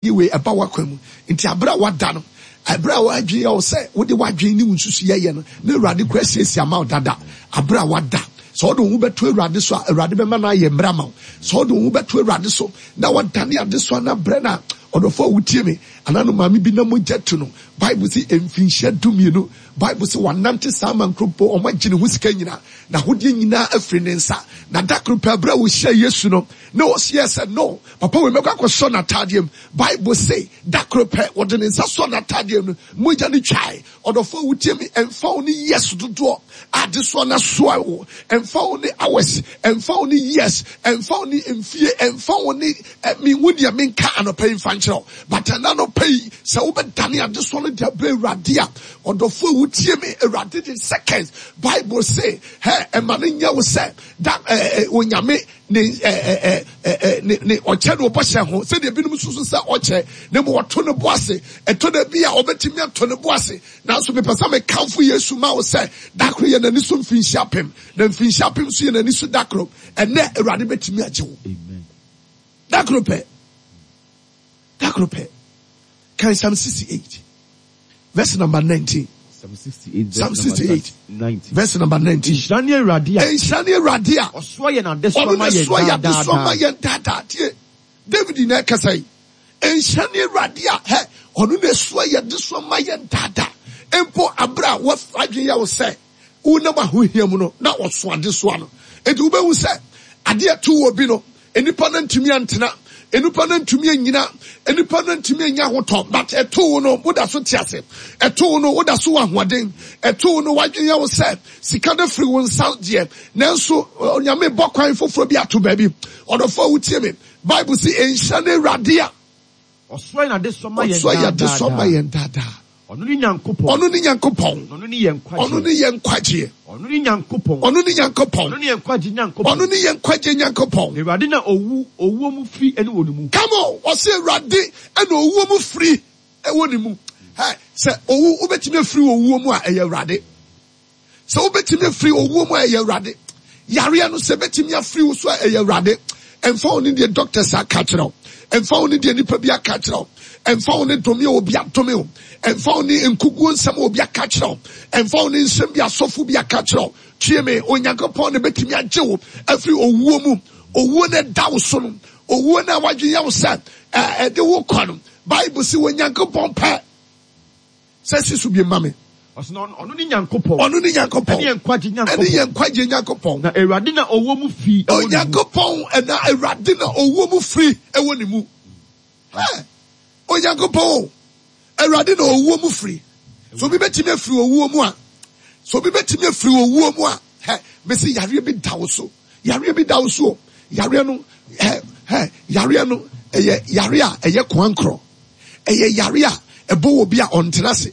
Yi wei ɛba w'akwan mu. Nti aberɛ a wada no, ɛberɛ a w'adwene yɛ wo sɛ wode w'adwene ne wo nsusuiɛ yɛ no, na Awurade koraa asiesie ama wo dada. Aberɛ a wada, sɛ wode wo ho bɛto Awurade so a, Awurade bɛma no ayɛ mmerɛ ama wo. Sɛ wode wo ho bɛto Awurade so na wadane adesoa no abrɛ no a, ɔdɔfoɔ a wotie me, anaa no maame bi na mogya tu no, Bible se mfinhyia dumienu, Bible se wanante saa ma nkuropɔn, wɔagye ne ho sika nyinaa, n'ahodeɛ nyinaa afiri ne nsa. Na da koro pɛ, berɛ a ɔhyiaa Yesu no, na ɔseɛ sɛ, No, Papa wei mɛkɔ akɔsɔ n'ataadeɛ mu. Bible se, da koro pɛ, ɔde ne nsa sɔɔ n'ataadeɛ mu no, mogya no twae. Ɔdɔfoɔ a wotie me, ɛmfa wo ne years dodoɔ a adesoa no asoa wo, ɛmfa wo ne hours, ɛmfa wo ne years, ɛmfa wo ne mfie, ɛmfa wo ne, menhu deɛ menka anɔpa yi mfa nkyerɛ wo, but ɛna anɔpa yi, sɛ wobɛdane adesoa no de abrɛ Awurade a, ɔdɔfoɔ a wotie me, Awurade de seconds, Bible se, hɛ, ɛma no nyɛ wo sɛ, da, eh, eh, Onyame, ne ɛ ɛ ɛ ne ne ɔkyɛ no ɔbɔhyɛ ho sɛdeɛ ebinom susu sɛ ɔkyɛ na mmom ɔto ne bo ase. Ɛtɔ da bi a ɔbɛtumi ato ne bo ase, nanso mepɛ sɛ mekamfo Yesu ma wo sɛ da koro yɛ n'ani so mfinhyia apem, na mfinhyia apem nso yɛ n'ani so da koro. Ɛnnɛ Awurade bɛtumi agye wo. Da koro pɛ. Da koro pɛ. Kan Psalm 68. Verse number 19. Psalm 68, Psalm 68 verse number 19. Nhyira ne Awurade a. Nhyira ne Awurade a. Ɔsoa yɛn adesoa ma yɛn daadaa. Ɔno na ɛsoa yɛn adesoa ma yɛn daadaa. Tie, David na ɛkasa yi. Nhyira ne Awurade a hɛ ɔno na ɛsoa yɛn adesoa ma yɛn daadaa. Mpo abere a wɔadwene yɛ wo sɛ wonam ahohia mu no na ɔso adesoa no. Enti wobɛhu sɛ adeɛ to wɔ bi no, nnipa no ntumi antena, nnipa no ntumi anyina, nnipa no ntumi anya ahotɔ, but ɛto wo no, woda so te ase. Ɛto wo no, woda so wɔ ahoɔden. Ɛto wo no, w'adwene yɛ wo sɛ sika no firi wo nsa deɛ, nanso Onyame bɔ kwan foforɔ bi ato baabi. Ɔdɔfoɔ a wotie me, Bible se nhyira ne Awurade a Ɔsoa yɛn adesoa ma yɛn Ɔsoa yɛn adesoa ma yɛn daadaa. Ɔno ne Nyankopɔn. Ɔno ne Nyankopɔn. Na ɔno ne yɛn nkwagyeɛ. Ɔno ne yɛn nkwagyeɛ. Ɔno ne Nyankopɔn. Ɔno ne Nyankopɔn. Ɔno ne yɛn nkwagye Nyankopɔn. Ɔno ne yɛn nkwagye Nyankopɔn. Na Awurade na owu, owuo mu firi ne wɔ ne mu. Come on, ɔse Awurade na owuo mu firi wɔ ne mu. Hɛ, sɛ owu, wobɛtumi afiri owuo mu a, ɛyɛ Awurade. Sɛ wobɛtumi afiri owuo mu a, ɛyɛ Awurade. Yareɛ no, sɛ ɛbɛtumi afiri wo so a, ɛyɛ Awurade. Ɛmfa wo ne deɛ doctors aka akyerɛ wo. Ɛmfa wo ne deɛ nipa bi aka akyerɛ wo. Ɛmfa wo ne dome a obi adome wo. Ɛmfa wo ne nkuguo nsɛm a obi aka akyerɛ wo. Ɛmfa wo ne nsɛm bi asɔfo bi aka akyerɛ wo. Tie me, Onyankopɔn na ɛbɛtumi agye wo afiri owuo mu. Owuo no ɛda wo so no, owuo no a wadwen yɛ wo sɛ ɛde wo kɔ no, Bible se Onyankopɔn pɛ. Sɛ si so bi ma me. Ɔsɛ na ɔno ne Nyankopɔn. Ɔno ne Nyankopɔn. Ɛne yɛn nkwagye Nyankopɔn. Ɛne yɛn nkwagye Nyankopɔn. Na Awurade na ɔwɔ mu fi ɛwɔ ne mu. Onyankopɔn ɛna Awurade na ɔwɔ mu firi ɛwɔ ne mu. Hɛ! Onyankopɔn o, Awurade na ɔwɔ mu firi. So obi bɛtumi afiri owuo mu a, so obi bɛtumi afiri owuo mu a, hɛ, mesi yareɛ bi da wo so. Yareɛ bi da wo so o. Yareɛ no, hɛ, hɛ, yareɛ no, ɛyɛ yareɛ a ɛyɛ koankorɔ. Ɛyɛ yare a ɛbɔ obi a ɔntena ase.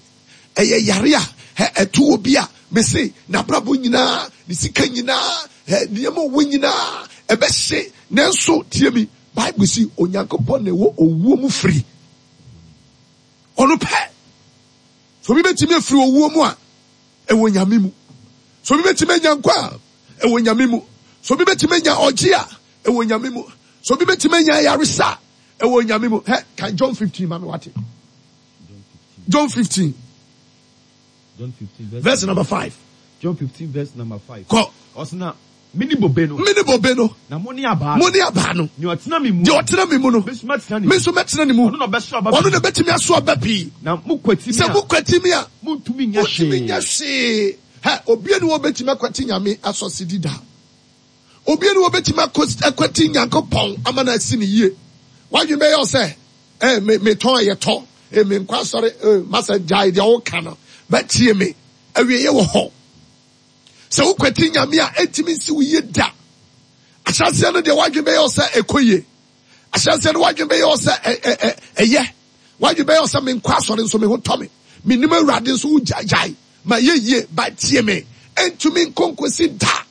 Ɛyɛ yare a ɛto obi a mese n'abrabɔ nyinaa, ne sika nyinaa, nneɛma ɔwɔ nyinaa ɛbɛhye. Nanso tie mi, Bible si Onyankopɔn na ɛwɔ owuo mu firi. Ɔno pɛ. So obi bɛtumi afiri owuo mu a, ɛwɔ Nyame mu. So obi bɛtumi anya nkwa a, ɛwɔ Nyame mu. So obi bɛtumi anya ɔgye a, ɛwɔ Nyame mu. So obi bɛtumi anya ayaresa a, Ɛwɔ Nyame mu. Hɛ, kan John 15 ma me wate. John 15. John 15 verse number 5. John 15 verse number 5. Kɔ. Ɔsena mene bobe no. Mene bobe no. Na mo ne abaa no. Mo ne abaa no. Nea ɔtena me mu. Deɛ ɔtena me mu no. Me nso mɛtena ne mu. Me nso mɛtena ne mu. Ɔno na ɔbɛso aba pii. Ɔno na ɛbɛtumi aso aba pii. Na mo kwati mi a. Sɛ mo kwati mi a. Montumi nyɛ hwee. Montumi nyɛ hwee. Hɛ, obi ni wɔbɛtumi akwati Nyame asɔsedi da. Obi ni obetumi akwati Nyankopɔn ama no asi no yie. W'adwene bɛyɛ wo sɛ, eh, me, metɔn a yɛtɔ, eh, menkɔ asɔre, eh, masa gyae deɛ woka no, bɛtie me. Awieɛ wɔ hɔ. Sɛ wokwati Nyame a, ɛntumi nsi wo yie da. Ahyɛaseɛ no deɛ w'adwene bɛyɛ wo sɛ ɛkɔ yie. Ahyɛaseɛ no w'adwene bɛyɛ wo sɛ ɛyɛ. W'adwene bɛyɛ wo sɛ menkɔ asɔre nso me ho tɔ me. Menim Awurade nso wogyae ma yɛ yie, but tie me, ɛntumi nkɔ nkosi da.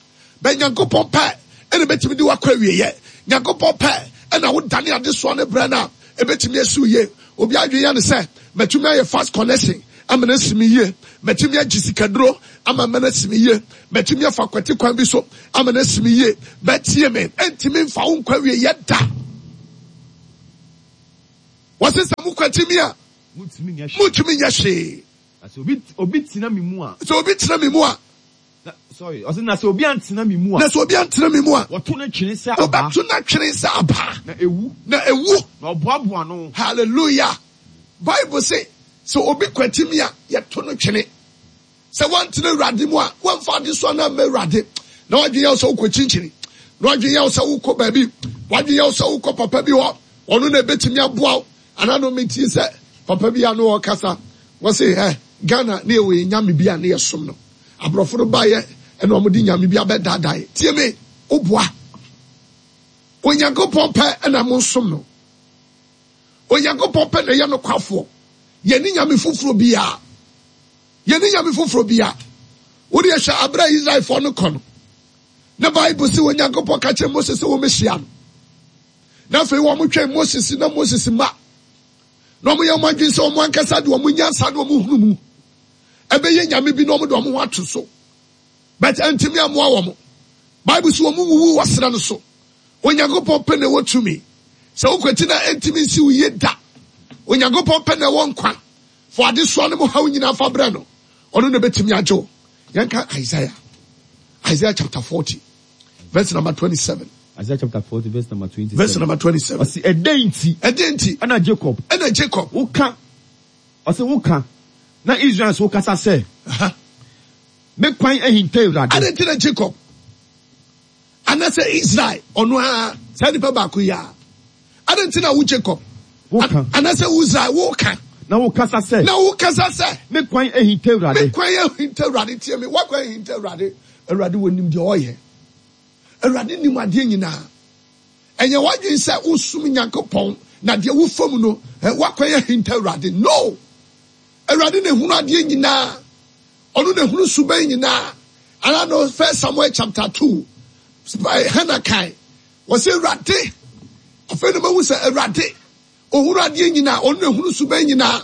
Bɛ Nyankopɔn pɛ na ebetumi de wo akɔ awieɛ. Nyankopɔn pɛ na wo dane adesoa no brɛ no a, ebetumi asi wo yie. Obi adwene yɛ no sɛ, matumi ayɛ fast connection ama no asi me yie, matumi agye sikaduro ama no asi me yie, matumi afa kwati kwan bi so ama no asi me yie. Bɛ tie me, ɛntumi mfa wo nkɔ awieɛ da. Wɔse sɛ mokwati me a, Montumi nyɛ hwee. montumi nyɛ hwee. Na sɛ obi, obi tena me mu a. Sɛ obi tena me mu a. Na, sorry, ɔse na sɛ obi antena me mu a. Na sɛ obi antena me mu a. Wɔto no twene sɛ abaa. Wɔbɛto no atwene sɛ abaa. Na ewu. Na ewu. Na ɔboaboa ano. Hallelujah! Bible se, sɛ obi kwati me a, yɛto no twene. Sɛ woantena Awurade mu a, woamfa adesoa no amma Awurade, na w'adwene yɛ wo sɛ wokɔ kyinkyini, na w'adwene yɛ wo sɛ wokɔ baabi, w'adwene yɛ wo sɛ wokɔ papa bi hɔ, ɔno na ebetumi aboa wo. Anaa no metie sɛ papa bi a na ɔrekasa, wɔse ɛ Ghana ne yɛwɔ yɛn nyame bi a ne yɛsom no. Aborɔfo no baeɛ ɛna wɔde nyame bi abɛdaadae. Tie me, woboa. Onyankopɔn pɛ ɛna monsom no. Onyankopɔn pɛ na ɛyɛ nokwafoɔ. Yɛne nyame foforɔ biara. Yɛnni nyame foforɔ biara. Wo deɛ hwɛ aberɛ a Israelfoɔ no kɔ no, na Bible se Onyankopɔn ka kyerɛ Mose sɛ wɔmmɛhyia no. Na afei wɔn twɛn Moses na Moses ma. Na wɔn yɛ wɔn adwene sɛ wɔn ankasa de wɔn nyansa ne wɔn hunu mu ɛbɛyɛ nyame bi na wɔn de wɔn ho ato so. But ɛntumi amoa wɔn. Bible se wɔn wuwu wɔ serɛ no so. Onyankopɔn pɛ na ɛwɔ tumi. Sɛ wokwati na ɛntumi nsi wo yie da. Onyankopɔn pɛ na ɛwɔ nkwa. Fa adesoa no mu haw nyinaa fa brɛ no, ɔno na obetumi agye wo. Yɛnka Isaiah, Isaiah chapter 40, verse number 27. Isaiah chapter 40, verse number 27. Verse number 27. Ɔsi ɛdɛn nti? Ɛdɛn nti? Ɛna Jacob. Ɛna Jacob. Woka, ɔsi woka, na Israel nso kasa sɛ. Me kwan ahinta Awurade. Adɛn nti na Jacob? Anaasɛ Israel, ɔno ara, saa nipa baako yi ara. Adɛn nti na wo Jacob, Woka. anaasɛ wo Israel, woka. Na wokasa sɛ. Na wokasa sɛ. Me kwan ahinta Awurade. Me kwan ahinta Awurade. Tie me, w'akwan ahinta Awurade. Awurade wɔnim deɛ ɔyɛ. Awurade nim adeɛ nyinaa. Ɛnyɛ w'adwene sɛ wosom Nyankopɔn na deɛ wofa mu no, w'akwan ahinta Awurade. No! Awurade na ehunu adeɛ nyinaa. Ɔno na ehunu suban nyinaa. Ana no First Samuel chapter 2. Hannah kae. Wɔsɛ Awurade. Afei na mahu sɛ Awurade ohunu adeɛ nyinaa. Ɔno na ehunu suban nyinaa.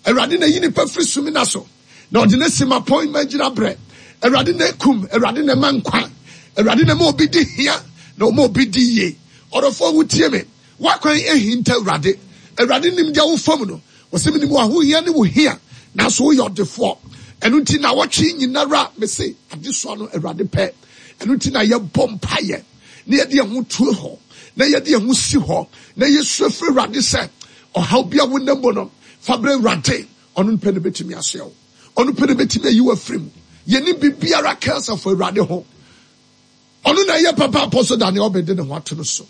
Awurade na eyi nipa firi sumina so. Na ɔde ne si ma pɔn ma gyina brɛ. Awurade na ekum. Awurade na ɛma nkwa. Awurade na ɛma obi di hia. Na ɔma obi di yie. Ɔdɔfoɔ wotie me. W'akwan ahinta Awurade. Awurade nim deɛ wofa mu no. Ɔse menim w'ahohia ne wo hia, nanso woyɛ ɔdefoɔ. Ɛno nti naawɔtwe nyinara mese adesoa no Awurade pɛ. Ɛno nti na yɛbɔ mpaeɛ na yɛde yɛn ho to hɔ na yɛde yɛn ho si hɔ na yɛsu afiri Awurade sɛ ɔhaw bi a wonam mu no fa brɛ Awurade. Ɔno pɛ na bɛtumi asoɛ wo. Ɔno pɛ na bɛtumi ayi wo afiri mu. Yɛnim biribiara ka asafo Awurade ho. Ɔno na ɛyɛ papa Apostle Daniel Obeng de ne ho ato no so.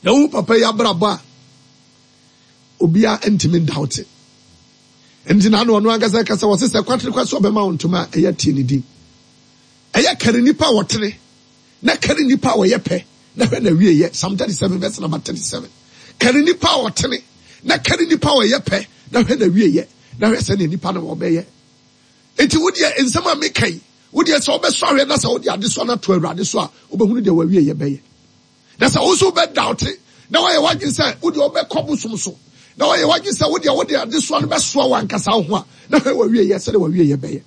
Na wohu papa yi abrabɔ a, obiara ntumi ndawote. Nti na ano ɔno ankasa kasa wɔse sɛ kwatere kwa sɛ ɔbɛma wo ntoma a ɛyɛ tie ne din. Ɛyɛ kari nipa a wɔtene na kari nipa a wɔyɛ pɛ na hwɛ na wie yɛ Psalm 37 verse number 37. Kari nipa a wɔtene na kari nipa a wɔyɛ pɛ na hwɛ na wie yɛ na hwɛ sɛnea nipa no wɔbɛyɛ. Enti wo deɛ, nsɛm a meka yi, wo deɛ sɛ wobɛsɔ ahwɛ na sɛ wode adesoa no ato Awurade so a, wobɛhunu deɛ w'awieeɛ bɛyɛ. Na sɛ wo nso wobɛdaote na woayɛ w'adwene sɛ wo deɛ wobɛkɔ bosom so, na woayɛ w'adwene sɛ wo deɛ wode adesoa no bɛsoa w'ankasa wo ho a, na hwɛ w'awieeɛ sɛdeɛ w'awieeɛ bɛyɛ.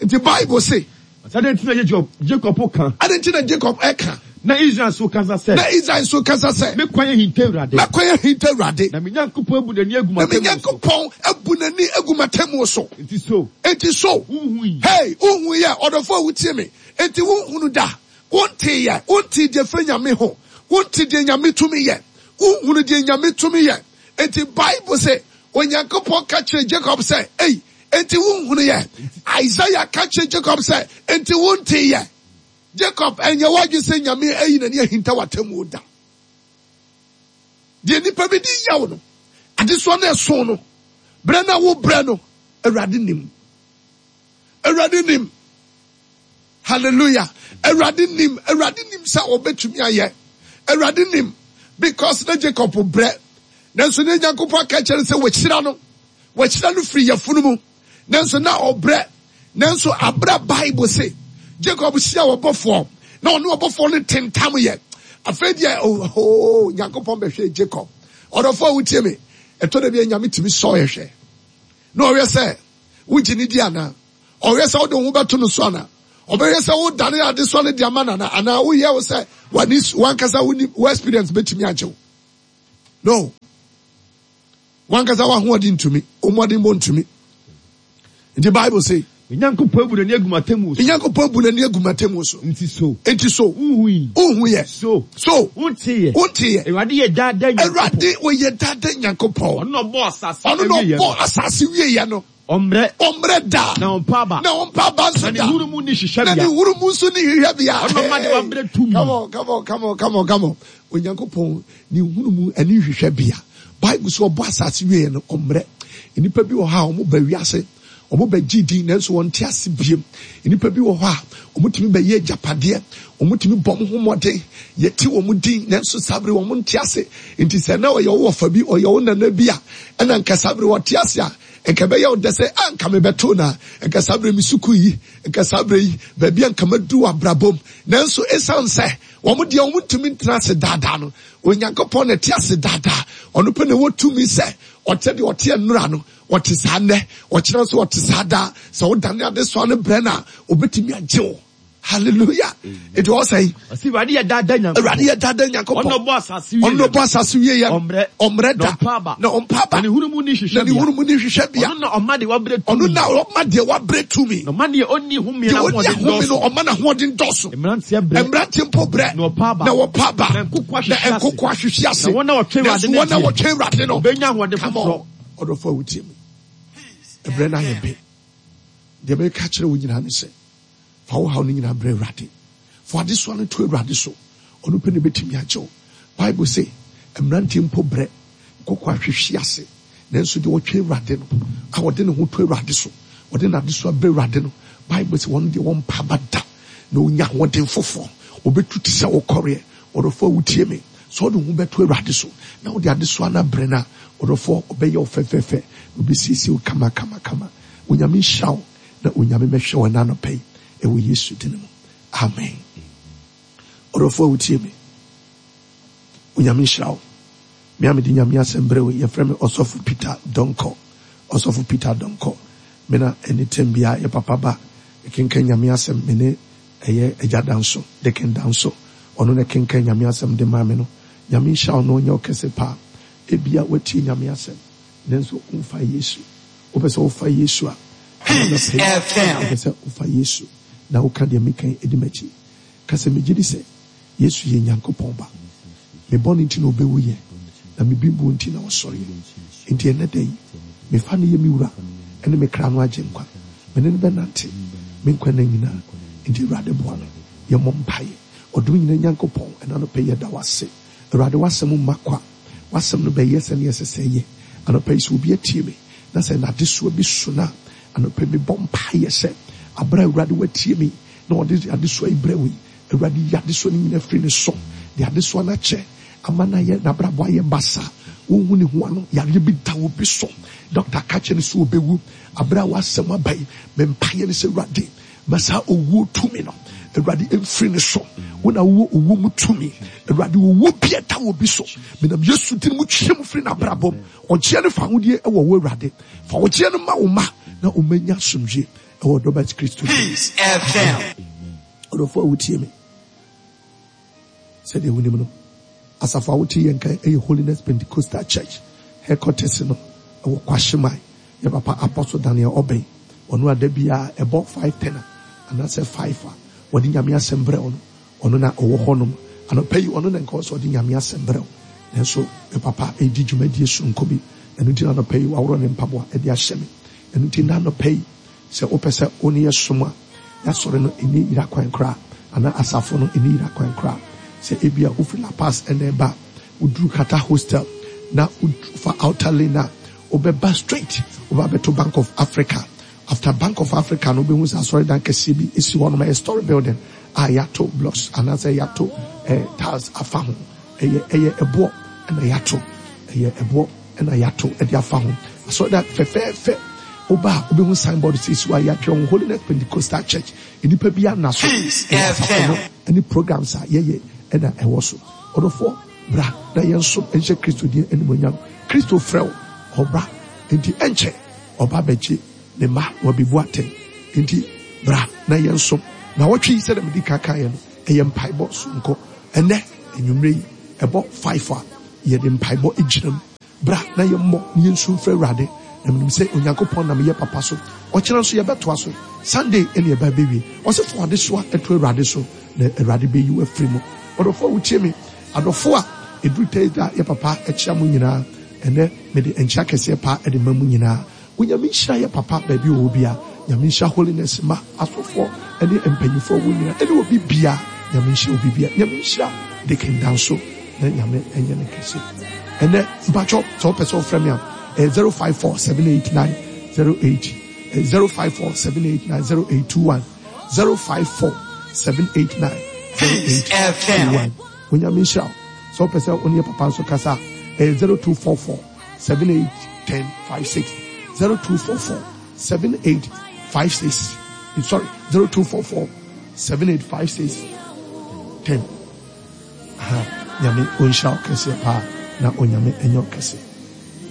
Enti Bible se. Adɛn nti na Jacob, Jacob ka? Adɛn nti na Jacob ka? Na Israel nso kasa sɛ. Na Israel nso kasa sɛ. Me kwan ahinta Awurade. Me kwan ahinta Awurade. Na me Nyankopɔn abu n'ani agu m'atemmuo so. Na me Nyankopɔn abu n'ani agu m'atemmuo so. Enti so. Enti so. Wonhui. Hey, wonhui ɛ, ɔdɔfo a wotie me. Enti wonhunu da. Wontee yɛ. Wontee deɛ firi Nyame ho. Wonte deɛ Nyame tumi yɛ. Wonhunu deɛ Nyame tumi yɛ. Enti Bible se, Onyankopɔn ka kyerɛɛ Jacob sɛ, Ei, enti wonhunu yɛ? Isaiah ka kyerɛɛ Jacob sɛ, Enti wontee yɛ? Jacob, ɛnyɛ w'adwene sɛ Nyame ayi n'ani ahinta w'atemmuo da. Deɛ nnipa bi de yaw no, adesoa no ɛso no, berɛ no a wobrɛ no, Awurade nim. Awurade nim. Hallelujah. Awurade nim. Awurade nim sɛ ɔbɛtumi ayɛ. Awurade nim. Because na Jacob brɛ. Nanso ne Nyankopɔn aka kyerɛ no sɛ wahyira no. Wahyira no firi yafunu mu. Nanso na ɔbrɛ. Nanso abere Bible se Jacob hyia ɔbɔfoɔ na ɔne ɔbɔfoɔ no tentam yɛ. Afei deɛ oh, oh, Nyankopɔn bɛhwɛ Jacob. Ɔdɔfoɔ a wotie me, ɛtɔ da bi a Nyame tumi sɔ yɛ hwɛ. Na ɔhwɛ sɛ wogye ne di anaa. Ɔhwɛ sɛ wode wo ho bɛto no so anaa. Ɔbɛhwɛ sɛ wodane adesoa no de ama no anaa. Anaa woyɛ wo sɛ w'ani wankasa wo experience bɛtumi agye wo. No. Wankasa w'ahoɔden ntumi, wo mmɔdenbɔ ntumi. Nti Bible se. Me Nyankopɔn abu n'ani agu m'atemmuo so. Me Nyankopɔn abu n'ani agu m'atemmuo so. Nti so. Nti so. Wonhui. Wonhu yɛ. So. So. Wonte yɛ. Wonte yɛ. Awurade yɛ daa daa Nyankopɔn. Awurade ɔyɛ daa daa Nyankopɔn. Ɔno na ɔbɔɔ asase Ɔno na ɔbɔɔ asase wieɛ no. Ɔmmrɛ. Ɔmmrɛ da. Na ɔmpa aba. Na ɔmpa aba nso da. Na ne huru mu nni hwehwɛbea. Na ne huru mu nso nni hwehwɛbea. Ɔno na ɔma deɛ wabrɛ tumi. Come on, come on, come on, come on, come on. Onyankopɔn, ne huru mu ɛne hwehwɛbea. Bible sɛ ɔbɔ asase wieɛ no, ɔmmrɛ. Nnipa bi wɔ hɔ a wɔba wiase, wɔbɛgye din nanso wɔnte ase biem. Nnipa bi wɔ hɔ a wɔtumi bɛyɛ agyapadeɛ, wɔtumi bɔ wɔn ho mmɔden, yɛte wɔn din nanso saa bere wɔn nte ase. Nti sɛ na ɔyɛ wo wɔfa bi, ɔyɛ wo nana bi a, ɛna nka saa bere wɔte ase a, Nka ɛbɛyɛ wo dɛ sɛ, 'A nka mebɛtoo no a, nka saa berɛ me sukuu yi, nka saa berɛ yi, baabi a nka maduru wɔ abrabɔ mu. Nanso esiane sɛ wɔn deɛ wɔntumi ntena ase daadaa no, Onyankopɔn na ɛte ase daadaa. Ɔno pɛ na ɛwɔ tumi sɛ ɔte deɛ ɔteɛ nnora no, ɔte saa nnɛ, ɔkyena nso ɔte saa daa. Sɛ wodane adesoa no brɛ no a, ɔbɛtumi agye wo. Hallelujah. Eti ɔwɔ sɛn? Ɔsi Awurade yɛ dada Nyankopɔn. Awurade yɛ dada Nyankopɔn. Ɔno ɔbɔ asase wie. Ɔno ɔbɔ asase wie yɛ. Ɔmbrɛ. Ɔmbrɛ da. Na ɔmpa aba. Na ɔmpa aba. Na ne hunu mu ni hwehwɛ bea. Na ne hunu mu ni hwehwɛ bea. Ɔno na ɔma deɛ wabrɛ tumi. Ɔno na ɔma deɛ wabrɛ tumi. Na ɔma deɛ ɔnni home na ahoɔden dɔɔso. Deɛ ɔnni ahome no ɔma n'ahoɔden dɔɔso. Mmeranteɛ brɛ. Mmeranteɛ mpo brɛ. Na ɔpa aba. Na wɔpa aba. Na nkoko ahwehwe ase. Na nkoko ahwehwe ase. Na wɔn a wɔtwɛn Awurade no deɛ. Na wɔn a wɔtwɛn Awurade no. Wɔbɛnya ahoɔden foforɔ. Come on. Ɔdɔfo a wotie me. Ɛbrɛ no ayɛ be. Deɛ meka kyerɛ wo nyinaa ne sɛ. Fa wo haw no nyinaa brɛ Awurade. Fa w'adesoa no to Awurade so. Ɔno pɛ na ebetumi agye wo. Bible se, Mmeranteɛ mpo brɛ, nkokoaa hwehwe ase, nanso deɛ ɔtwɛn Awurade no, a ɔde ne ho to Awurade so, ɔde n'adesoa brɛ Awurade no, Bible se, wɔn deɛ wɔmpa aba da, na ɔnya ahoɔden foforɔ. Ɔbɛtu te sɛ ɔkɔreɛ. Ɔdɔfoɔ a wotie me, sɛ wode wo ho bɛto Awurade so, na wode adesoa no abrɛ no a, ɔdɔfoɔ, ɔbɛyɛ wo fɛfɛɛfɛ, na ɔbɛsiesie wo kama kama kama. Onyame nhyira wo. Na Onyame mɛhwɛ wo ɛna anɔpa yi ɛwɔ Yesu dini mu. Amen. Ɔdɔfoɔ a wotie me, Onyame nhyira wo. Me a mede Nyame asɛm brɛ wo yi, yɛfrɛ me Ɔsɔfo Peter Donkor. Ɔsɔfo Peter Donkor. Me na ɛne tɛm biara yɛ papa ba ɛkenkan Nyame asɛm. Me ne ɛyɛ Agya Danso, Deacon Danso. Ɔno na ɛkenkan Nyame asɛm de maa me no. Nyame nhyira wo na ɔnyɛ wo kɛse paa. Ebia woatie Nyame asɛm, nanso womfa Yesu. Wopɛ sɛ wofa Yesu a, ɛna anɔpa yi, wopɛ sɛ wofa Yesu na woka deɛ meka yi di m'akyi. Ka sɛ, Megye di sɛ Yesu yɛ Nyankopɔn Ba. Me bɔne nti na ɔbɛwuiɛ, na me bembuo nti na ɔsɔreɛ. Enti ɛnnɛ da yi, mefa no yɛ me Wura ne me kra no Agyenkwa. Me ne no bɛnante me nkwa nna nyinaa. Enti Awurade boa me. Yɛmmɔ mpaeɛ. Ɔdom nyinaa Nyankopɔn, ɛna anɔpa yi yɛda wo ase. Awurade, w'asɛm mma kwa. W'asɛm no bɛyɛ sɛnea ɛsɛ sɛ ɛyɛ. Anɔpa yi, sɛ obi atie me, na sɛ n'adesoa bi so no a, anɔpa yi mebɔ mpaeɛ sɛ, aberɛ a Awurade watie me na ɔde adesoa yi brɛ wo yi, Awurade yi adesoa no nyinaa firi ne so, de adesoa no akyɛ ama no ayɛ, n'abrabɔ ayɛ basaa, wonhu ne ho ano, yareɛ bi da obi so, dɔkta ka kyerɛ no sɛ ɔbɛwu, aberɛ a w'asɛm aba yi, me mpaeɛ ne sɛ, Awurade, Ma saa owuo tumi no, Awurade, mfiri ne so. Wo na wowɔ owuo mu tumi. Awurade, owuo bi a ɛda obi so, menam Yesu din mu twe mu firi n'abrabɔ mu. Ɔgyeɛ ne fahodie wɔ wo, Awurade. Fa ɔgyeɛ no ma wo mma na wɔn anya asomdwie ɛwɔ ɔdɔ ba Kristo din mu. Amen. Ɔdɔfoɔ a wotie me, sɛdeɛ wonim no, asafo a wote yɛn nka ɛyɛ Holiness Pentecostal Church headquarters no ɛwɔ Kwashieman. Yɛ papa Apostle Daniel Obeng, ɔno a da biara ɛbɔ 5:10 a anaasɛ 5 a wɔde Nyame asɛm brɛ wo no, ɔno na ɔwɔ hɔnom. Anɔpa yi ɔno na nka ɔwɔ sɛ ɔde Nyame asɛm brɛ wo, nanso me papa redi dwumadie soronko bi, ɛno nti na anɔpa yi waworɔ ne mpaboa de ahyɛ me. Ɛno nti nnɛ anɔpa yi, sɛ wopɛ sɛ wo ne yɛ som a, y'asɔre no nni yera kwan koraa, anaa asafo no nni yera kwan koraa. Sɛ ebia wofiri La Paz na ɛreba a, woduru Carter Hostel na wofa outer lane a, wobɛba straight, woba abɛto Bank of Africa. After Bank of Africa no, wobɛhu sɛ asɔredan kɛseɛ bi si hɔnom, ɛyɛ story building a yɛato blocks anaasɛ yɛato eh, tiles afa ho. Ɛyɛ ɛyɛ ɛboɔ na yɛato, ɛyɛ ɛboɔ na yɛato de afa ho. Asɔredan fɛfɛɛfɛ. Woba a, wobɛhu signboard sɛ esi hɔ a yɛatwerɛ ho Holiness Pentecostal Church. Nnipa bi anna so. Ɛyɛ asafo no ne programs a yɛyɛ na ɛwɔ so. Ɔdɔfoɔ, bra na yɛnsom nhyɛ Kristo din animuonyam. Kristo frɛ wo, ɔba. Enti ɛnkyɛ ɔba abɛgye ne mma na wabebu atɛn. Enti bra na yɛnsom. Nnawɔtwe yi, sɛdeɛ medi kan kaeɛ no, ɛyɛ mpaebɔ sononko. Ɛnnɛ anwummerɛ yi, ɛbɔ five a, yɛde mpaebɔ gyina mu. Bra na yɛmmɔ na yɛnsu mfrɛ Awurade, na menim sɛ Onyankopɔn nam yɛ papa so. Ɔkyena nso yɛbɛtoa so. Sunday ɛne ɛba bɛwie. Ɔse fa w'adesoa to Awurade so na Awurade bɛyi wo afiri mu. Ɔdɔfoɔ a wotie me, adɔfoɔ a ɛduru Thursday a yɛ papa kyea mo nyinaa. Ɛnɛ mede nkyea kɛseɛ paa de ma mo nyinaa. Onyame nhyira yɛ papa baabi ɔwɔ bia Nyame nhyira holiness mma asɔfoɔ ɛne mpanyinfoɔ wɔ nyina ɛne obi bia Nyame nhyira obi bia Nyame nhyira Deacon Danso na Nyame ɛnyɛ no kɛse ɛnɛ mpakyɛw sɛ wopɛ sɛ wofrɛ me a ɛyɛ 054 789 08 054 789 0821 054 789 0821 Onyame nhyira wo sɛ wopɛ sɛ wo ne yɛ papa nso kasa a ɛyɛ 0244 78 10 56 0244 78 56 sorry 0244 78 56 10 aha nyame ɔnhyira wo kɛseɛ paa na onyame ɛnyɛ wo kɛse.